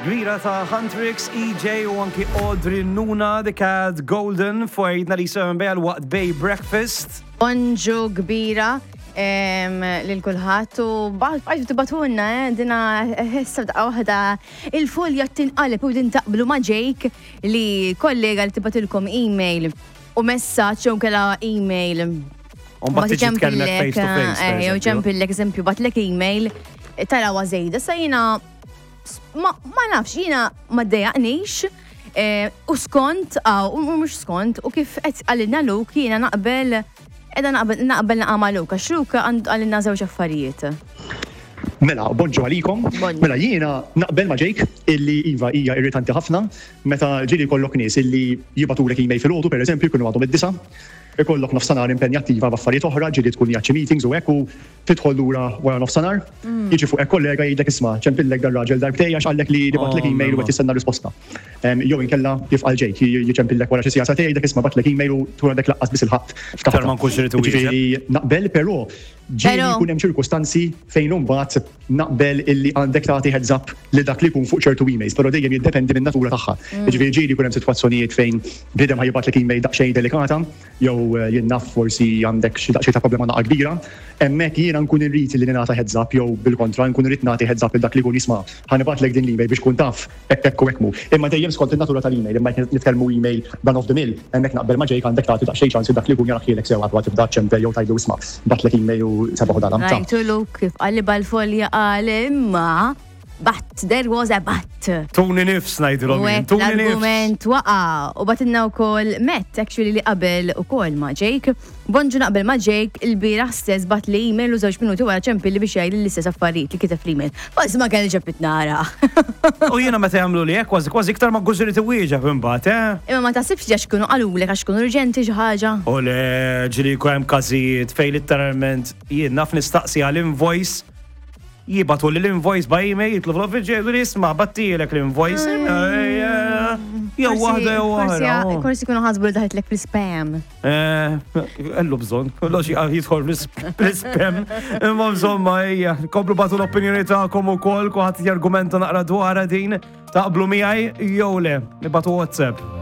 Kbira ta' Huntrix, EJ u anki Audrey Nuna, The Cat Golden, fuq 97 bejal waqt Bay Breakfast. Bonġu kbira lil kulħadd u bqajtu tibatulna eh, dina ħessa daqqa waħda il-folja tinqaleb u din taqblu ma' Jake li kollega li tibatilkom email u messaġġ jew kella email. Mbagħad tiġi tkellmek face to face. Eh, jew ċempillek eżempju batlek email tarawa żejda sa jiena ma nafx jiena ma ddejjaqnix eh, u skont u mhux skont u kif qed qalilna Luke jiena naqbel qiegħda naqbel naqbel naqa' ma' Luke għax Luke qalilna żewġ affarijiet. Mela, bonġu għalikom. Mela jiena naqbel ma' Jake illi iva hija irritanti ħafna meta ġieli jkollok nies illi jibgħatulek email filgħodu pereżempju jkunu għadhom id-disgħa, ikollok nofsanhar impenjattiva b'affarijiet oħra, ġieli tkun qiegħed xi meetings u hekk u tidħol lura wara nofsanhar, jiġi fuqek kollega jgħidlek isma' ċempillek dar-raġel darbtejn għax qallek li bagħatlek email u qed jistenna risposta. Jew inkella kif qal Jake, jiċempillek wara xi siegħa sagħtejn jgħidlek isma' bagħatlek email u tkun għadek laqqas biss ilħaqt ftaħtha. Ma nkunx irid iwieġeb. Jiġifieri naqbel però ġieli jkun hemm ċirkustanzi fejn imbagħad naqbel illi għandek tagħti heads up lil dak li jkun fuq ċertu emails, però dejjem jiddependi min-natura tagħha. Jiġifieri ġieli jkun hemm sitwazzjonijiet fejn bniedem ħa jibgħatlek email daqsxejn delikata, jew jien naf forsi għandek xi daqsxejn ta' problema naqa' kbira, hemmhekk jiena nkun irrid li ningħata heads up jew bil-kontra nkun irrid nagħti heads up lil dak li jkun jisma' ħa nibgħatlek din l-email biex tkun taf hekk hekk u hekk mhu. Imma dejjem skont in-natura tal-email, imma jekk nitkellmu email run of the mill, hemmhekk naqbel ma' Jake għandek tagħti daqsxejn ċans lil dak li jkun jarahielek sew qabel ma tibda ċċempel jew tgħidlu isma' bgħattlek email u sebaħ u dalam. Rajtu Luke kif qalibha l-folja qal imma But, there was a but. Tuni nifs ngħidilhom jien, tuni nifs. L-argument waqa' u batinna wkoll Matt actually li qabel ukoll ma' Jake. Bonġu naqbel ma' Jake il-bieraħ stess bat li email u żewġ minuti wara ċempilli biex jgħidli l-istess affarijiet li kiteb fl-email. Forsi ma kellix ġabit nara. U jiena meta jagħmlu li hekk kważi kważi iktar ma nkunx irid iwieġeb imbagħad, eh? Imma ma taħsibx li għax kienu qalulek għax kienu urġenti xi ħaġa? U le, ġieli jkun hemm każijiet fejn litteralment jien naf nistaqsi għal invoice Jibagħtuli l-invoice by email, jitlu fl-office jgħidu li isma' battilek l-invoice. Jew waħda jew oħra. Forsi kunu ħasbu li daħitlek fl-spam. Eh, kellu bżonn, kollox jidħol fl-spam. Imma insomma, ejja, komplu batu l-opinjoni tagħkom ukoll, kulħadd jargumenta naqra dwarha din, taqblu miegħi jew le, nibatu WhatsApp.